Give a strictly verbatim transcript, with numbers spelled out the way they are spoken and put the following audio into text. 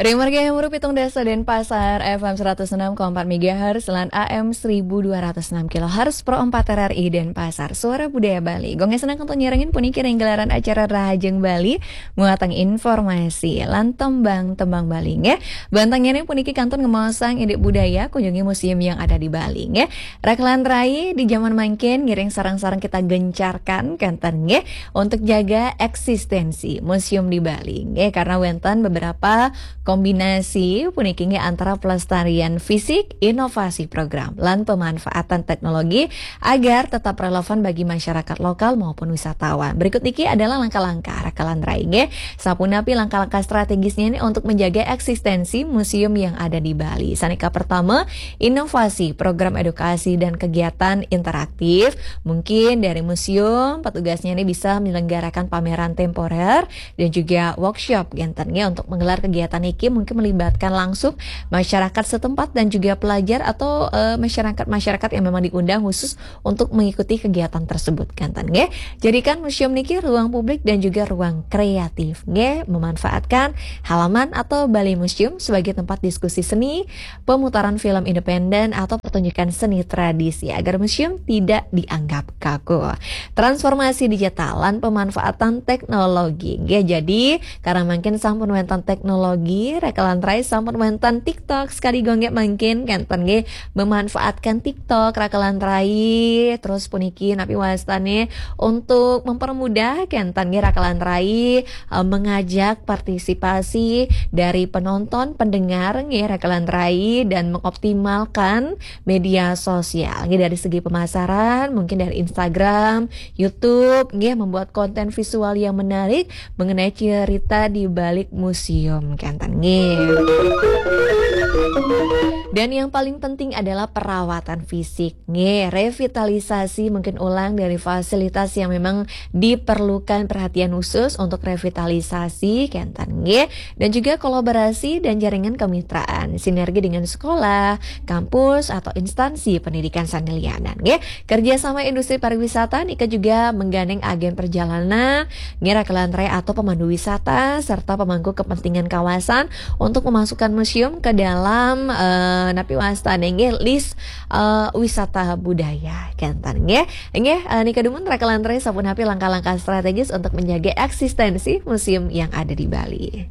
Ring margi Hemuru pitung dasa Denpasar, F M seratus enam koma empat megahertz, lan A M seribu dua ratus enam kilohertz, Pro empat R R I Denpasar, Suara Budaya Bali. Gonge senang untuk nyerengin puniki ring gelaran acara Rahajeng Bali, muatang informasi, lan tembang-tembang Bali, nggih. Bantang nyereng puniki kantun ngemaosang indik budaya, kunjungi museum yang ada di Bali, nggih. Rakelan rai di zaman mangkin ngiring sareng-sareng kita gencarkan, kenten, nggih, untuk jaga eksistensi museum di Bali, nggih, karena wenten beberapa kombinasi puniki, nggih, antara pelestarian fisik, inovasi program, lan pemanfaatan teknologi agar tetap relevan bagi masyarakat lokal maupun wisatawan. Berikut niki adalah langkah-langkah rakelan rai, nggih. Sapunapi langkah-langkah strategisnya ini untuk menjaga eksistensi museum yang ada di Bali. Sanika pertama, inovasi program edukasi dan kegiatan interaktif. Mungkin dari museum, petugasnya ini bisa menyelenggarakan pameran temporer dan juga workshop, kenten, nggih, untuk menggelar kegiatan niki mungkin melibatkan langsung masyarakat setempat dan juga pelajar atau eh, masyarakat-masyarakat yang memang diundang khusus untuk mengikuti kegiatan tersebut, kenten, nggih. Jadikan museum niki ruang publik dan juga ruang kreatif, nggih, memanfaatkan halaman atau balai museum sebagai tempat diskusi seni, pemutaran film independen atau pertunjukan seni tradisi agar museum tidak dianggap kaku. Transformasi digital lan pemanfaatan teknologi, nggih. Jadi, karena mangkin sampun wenten teknologi, rakelan rai sampun wenten TikTok, sekali gonge mangkin, kenten, nggih, memanfaatkan TikTok, rakelan rai, terus puniki napi wastane untuk mempermudah, kenten, nggih, rakelan rai, eh, mengajak partisipasi dari penonton, pendengar, nggih, rakelan rai, dan mengoptimalkan media sosial, nggih, dari segi pemasaran, mungkin dari Instagram, YouTube, nggih, membuat konten visual yang menarik mengenai cerita di balik museum, kenten, nggih. Dan yang paling penting adalah perawatan fisik, nggih, revitalisasi mungkin ulang dari fasilitas yang memang diperlukan perhatian khusus untuk revitalisasi, kenten, nggih, dan juga kolaborasi dan jaringan kemitraan, sinergi dengan sekolah, kampus, atau instansi pendidikan sane lianan, nggih. Kerjasama industri pariwisata nika juga menggandeng agen perjalanan, nggih, rakelan rai atau pemandu wisata, serta pemangku kepentingan kawasan untuk memasukkan museum ke dalam eh, napi wastane, nggih, list eh, wisata budaya, kenten, nggih. Nggih, eh, nika dumun rakelan rai sapunapi langkah-langkah strategis untuk menjaga eksistensi museum yang ada di Bali.